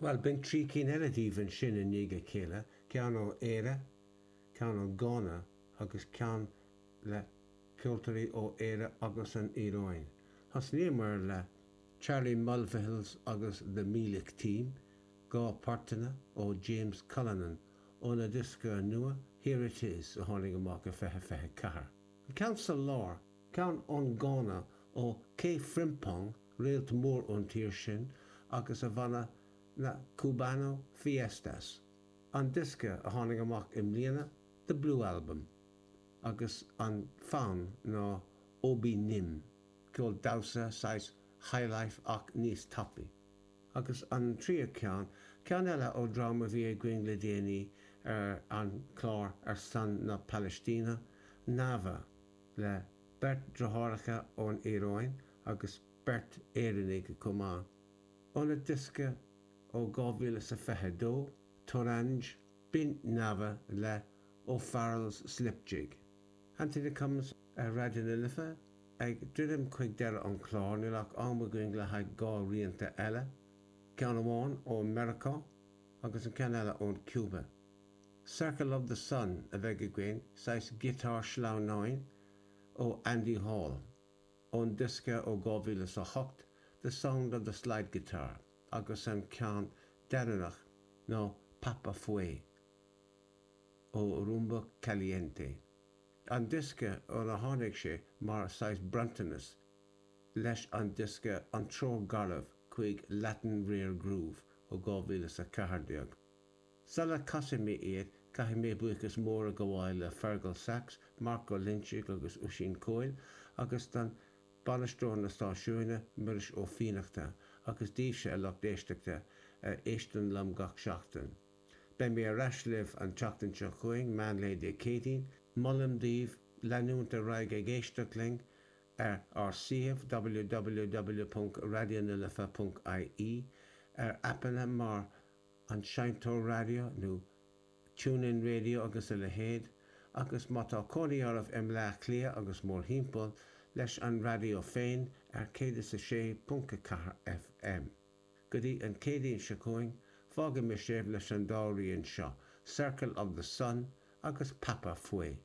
Bhuel, b'in 3 cinn eile daoibh ansin i ndiaidh a chéile, ceann ó Éire, ceann ó Gána agus ceann le ceoltóirí ó Éire agus an Iaráin. Thosnaíomar le Charlie Mulvihill's agus The Meelick Team, 2 portanna ó James Cullinan óna diosca nua Here It Is a tháinig amach i 2024. An ceann sa lár, ceann ón Gána ó K Frimpong, réalt mór ón tír sin, agus a bhanna na Cubano Fiestas, an diosca a tháinig amach i mbliana, The Blue Album, agus an fonn ná Obi Nim, ceol damhsa, saghas highlife ach níos tapaí. Agus an tríú ceann, ceann eile ó dream a bhí againn le déanaí ar an chlár ar son na Palaistíne, Nava, le beirt deartháireacha ón Iaráin agus beirt Éireannaigh chomh maith. Óna diosca ó 2022, Toranj, b'in Nava le O'Farrell's Slip Jig. Anthony Cummins ar Raidió na Life ag druidim chuig deireadh an chláir, níl ach am againn le haghaidh 2 rianta eile, ceann amháin ó Meiriceá agus an ceann eile ón Cuba. Circle of the Sun a bheidh againn, saghas giotár sleamhnáin ó Andy Hall, ón diosca ó 2008 The Sound of the Slide Guitar agus an ceann deireanach ná Papa Fue ó Rumba Caliente, an diosca óna tháinig sé mar saghas bronntanas leis an diosca An Treoir Garbh chuig Latin Rare Groove ó 2014. Sula casfaidh mé iad, caithfidh mé buíochas mór a ghabháil le Fergal Sachs, Marc Ó Loinsigh agus Oisín Coyle, agus don bainisteoir na stáisiúine, Muiris Ó Fiannachta, agus daoibhse, a lucht éisteachta, a éisteann liom gach seachtain. Beidh mé ar ais libh an tseachtain seo chugainn, meánlae Dé Céadaoin. Molaim daoibh leanúint ar aghaidh ag éisteacht linn ar ár suíomh www.raidionalife.ie, ar aipeanna mar an seinnteoir raidió nó TuneIn Radio agus a leithéid, agus má tá cónaí oraibh i mBleá Cliath agus mórthimpeall, leis an raidió féin ar 106.4 FM. Go dtí an Céadaoin seo chugainn, fágfaidh mé sibh leis an dá rian seo, Circle of the Sun agus Papa Fue.